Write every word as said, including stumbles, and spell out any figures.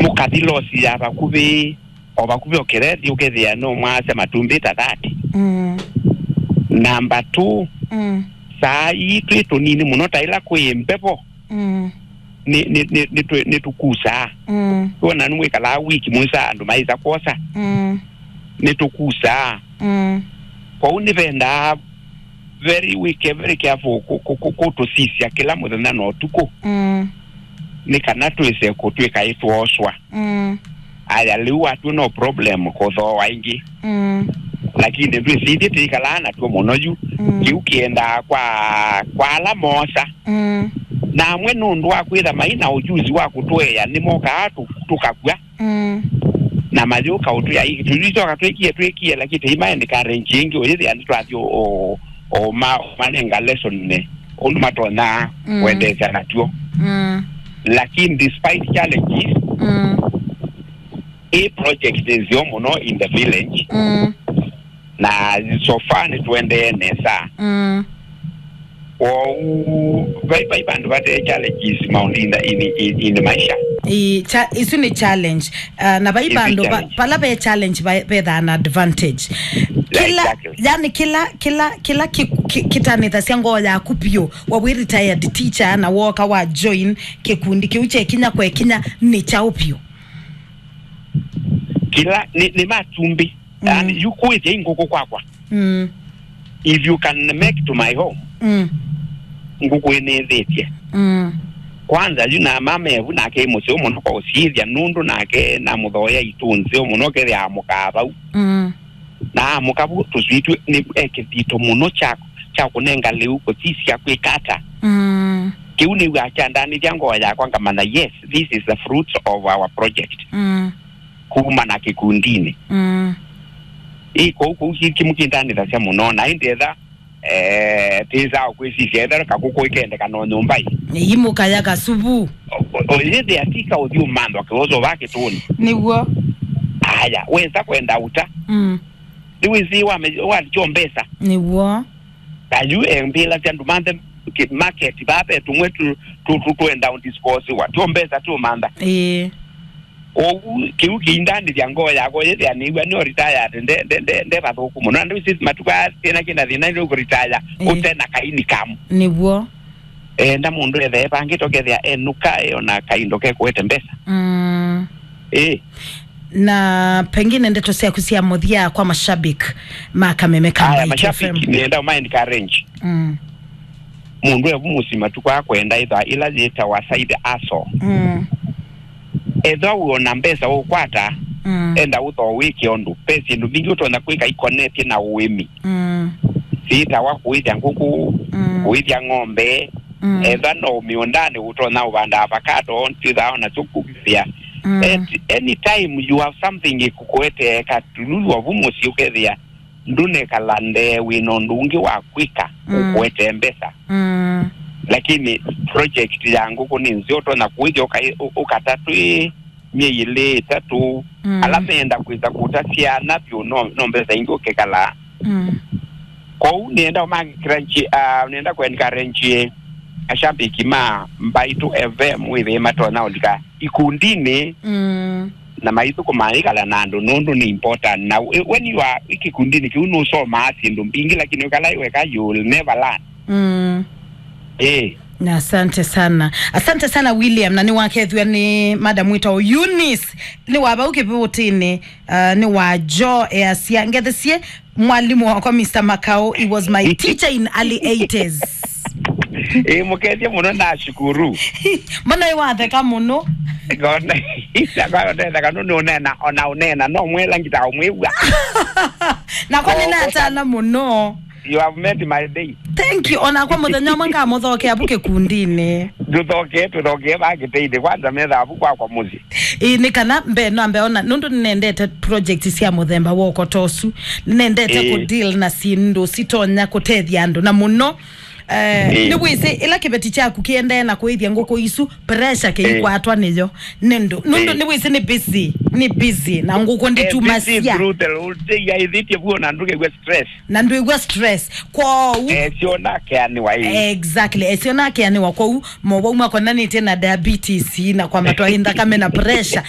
Ũkathi losi ya vakuvĩ, o vakuvĩ o kĩrethi, ũkethĩa no mwasya matumbĩ ta thirty. Mm. Namba two, mm, saa ii twĩ tũnini mũno, ta ĩla kwĩ mbevo, mm, nĩ, nĩ, nĩ, nĩ twĩ-, nĩtũkusaa. Mm. Wona nĩmwĩkalaa wiki mũisa andũ maĩsa kwosa. Mm. Nĩtũkusaa. Mm. Kwoou nĩvendaa very, wĩke very careful kũ-, kũ-, kũ-, kũtũsisya kĩla mũthenya na ũtukũ. Mm. Nĩ kana twĩse kũtw'ĩka ĩtwooswa. Mm. Aya, lĩu watw'o no problem kũthooa ĩngĩ. Mm. Lakini ndwĩsĩ ithyĩ twĩkalaa natw'o mũno yu. Mm. Kĩu kĩendaa kwa, kwa ala moosa. Mm. Na amwe nũndũ wa kwĩtha mai na ũjuzi wa kũtũea, nĩmokaa tũ-, tũkakw'a. Mm. Na mayũka ũtwĩa, "Ĩ, tũityoka twĩkie, twĩkie," lakini tũimaendekarenge ĩngĩ, ũyĩthĩa nĩtwathi o, o, o ma-, manenga lesson nĩ ũndũ matonya, mm, kwendeesya natw'o. Mm. Lakini despite challenges, mm, ĩ project nĩ nzeo mũno in the village. Mm. Na so far nĩtũendee nesa. Mm. Kwoou, vai, vai vandũ vate challenges maũndũ in, the, in, in, in maisha. Ĩ, cha-, isu nĩ challenge. Uh, na vai, isu vandũ va-, challenge. Vala ve challenge va-, vethaa na advantage. Kĩla, exactly, yani kĩla, kĩla, kĩla ki-, ki-, kĩtanĩthasya ngoo yaku vyũ, wa wĩ retired teacher na woka wa join kĩkundi kĩu kyekinya kwekinya nĩ kyaũ vyũ? Kĩla nĩ, nĩ matumbĩ. Mm. Yani, yu kũĩthya i ngũkũ kwakwa. Mm. If you can make to my home, mm, ngũkũ ĩnĩthĩtye. Mm. Kwanza, yu na mama evu nake ĩ mũseo mũno kwa ũsyĩthya, nũndũ nake namũthoea itũ nzeo mũno, kethĩaa mũkaa vau. Mm. Na amũka vu tũswitũ nĩ e kĩthito mũno kya, kya kũnenga lĩu kũsisya kwĩka ata. Mm. Kĩu nĩw'aa kyandanĩthya ngoo yakwa, ngamanya, yes, this is the fruits of our project. Mm. Kuma na kĩkundinĩ. Mm. Ĩ, kũu, kũu ki-, kĩmũkĩndanĩthasya mũno, na ĩndĩ etha, eh, tĩsaa kwĩsisya, etha kakũkũ ikendeka no nyũmba ĩ. Imũkaya kasuvu. O, o, o, yĩthĩa tika ũthi ũmanthwa kĩwoso va kĩtũnĩ. Nĩw'o. Aya, wesa kwenda uta. Mm. Nĩwĩsĩ wame-, walikyo mbesa. Nĩw'o. Na yu embĩlasya ndũmanthe ki-, market, vaa ve tũmwe tu, tu, tu, twenda ũdisposiwa. Tyo mbesa tũmantha. Ĩĩ. Kwoou, kĩu kĩindanĩthya ngoo yakwa, yĩthĩa nĩw'a nĩ retired, nde, nde, nde, nde vathũku mũno. Na ndĩwĩsĩ matukũ aa thĩna kĩna thĩna nĩ kũretire, ĩĩ, ũte na ka income. Nĩw'o. Enda mũndũ ethee vangĩ tokethĩa enũka, e ona kaindo kekũete mbesa. Mm. Ĩĩ. Na pengine ndeto syaku sya mũthya kwa mashabiki ma Kameme ka Aya, Mbaitu mashabiki F M. Nĩenda ũma encourage. Mm. Mũndũ evu mũsima tu kwa kwenda ĩtha ĩla yĩtawa side hustle. Mm. Ethwa wĩona mbesa ũkwata, mm, enda ũthoo wĩke ũndũ. Ve syĩndũ mbingĩ ũtonya kwĩka ikonetye na ũĩmi. Mm. Syĩtawa kũĩthya ngũkũ, mm, kũĩthya ng'ombe, mm, ethwa no mĩũndanĩ ũtonya ũvanda avocado, twĩthaa ona tũkũvĩthĩa. Mm. At any time you have something ĩkũkũetee katululu ovu mũsyĩ ũkethĩa ndũnekala ndee wĩna ũndũ ũngĩ wa kwĩka, mm, ũkũetee mbesa. Mm. Lakini project ya ngũkũ nĩ nzeo, ũtonya kũĩthya ũka-, ũ-, ũkata twĩ myei ĩlĩ, ĩtatũ, mm, ala meenda kwĩsa kũta syana vyũ no, no mbesa ingĩ ũkĩkalaa. Mm. Kwoou nĩenda ũmakĩkĩra nji-, ah, nĩenda kũencourage ashambiki ma Mbaitu F M wĩthĩe matonya ũlika ikundinĩ, mm, na maithũkũma ĩkala na andũ nũndũ nĩ important. Na wĩ-, when you are ikikundinĩ kĩu nũsomaa syĩndũ mbingĩ, lakini ũkala weka, you will never learn. Mm. Eh. Na asante sana. Asante sana, William. Na nĩwakethw'a nĩ madam wĩtawa Eunice. Nĩ wa vau Kĩvũtĩnĩ, uh, nĩ wa Joe easya, "Ngethesie mwalimũ wakwa, Mister Makau. He was my teacher in early eighties." Eh, mũkethie mũno, nashukuru. Mbona ĩwatheka mũno? Ngona, ngona ndetheka nũndũ ũnena, ona ũnena, no mwela ngita ũmwĩw'a. Nakwa nĩnatana mũno. You have made my day. Thank you. Onakwa mũthenya ũmwe ngamũthokea vu kĩkundinĩ. Tũthokee, tũthokee va kĩtĩinĩ. Kwanza methaa vu kwakwa mũsyĩ. Ĩĩ, nĩ kana mbee no ambe ona, nũndũ nĩnendete project sya mũthemba wa ũkotosu. Nĩnendete, ĩĩ, kũ deal na syĩndũ sitonya kũtethya andũ. Na mũno, eh, ĩĩ, nĩwĩsĩ, ĩla kĩveti kyaku kĩendee na kũĩthya ngũkũ isu, pressure, ĩĩ, kĩikwatwa nĩyo. Nĩndũ, nũndũ, ĩĩ, nĩwĩsĩ nĩ busy, nĩ busy, na ngũkũ, eh, nditumasya. Busy through the whole day, yaĩthĩtye vuo na ndũkew'a stress. Na ndwĩw'a stress. Kwoou. Esyo nakeanĩwa ĩĩ. Exactly. Esyo nakeanĩwa. Kwoou, mowau makonanĩtye na diabetes na kwambatwa ĩ nthakame na pressure.